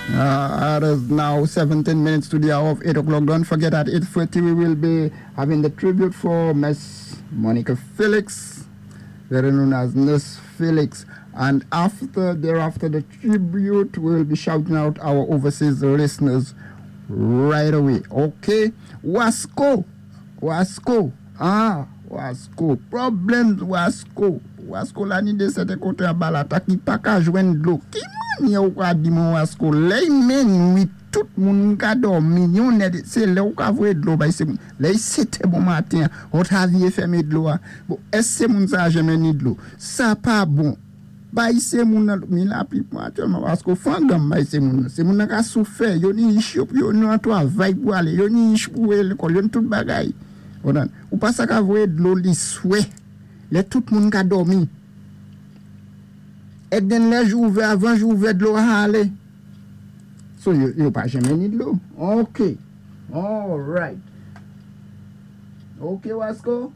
It is now 17 minutes to the hour of 8 o'clock. Don't forget, at 8:30 we will be having the tribute for Miss Monica Felix, better known as Nurse Felix. And after, thereafter the tribute, we will be shouting out our overseas listeners right away. Okay? Wasco! Wasco! Ah! Wasco! Problems Wasco! Wasco la ni dé sèten koté anba lata ki pa ka jwenn dlo. Ki mannyè ou ka di mwen, Wasco, lè minwi tout moun ka dòmi yon nèt, sé lè ou ka voyé dlo bay sé moun. Lè 7è bon maten, ou ta vyé fèmen dlo a. Bon, èské sé moun sa janmen ni dlo? Sa pa bon. Bay sé moun nan, ni lapli pou aktyèlman, Wasco fanganm bay sé moun nan. Sé moun nan ka soufè, yo ni ich yo pou yo nan twavay pou alé, yo ni ich pou wé lékòl, yo ni tout bagay. Ou pa sa ka voyé dlo liswè, lè tout moun ka dòmi. Èk den lè jou ouvè, avan jou ouvè dlo a alé. So yo pa janmen ni dlo. Ok. All right. Ok, Wasco.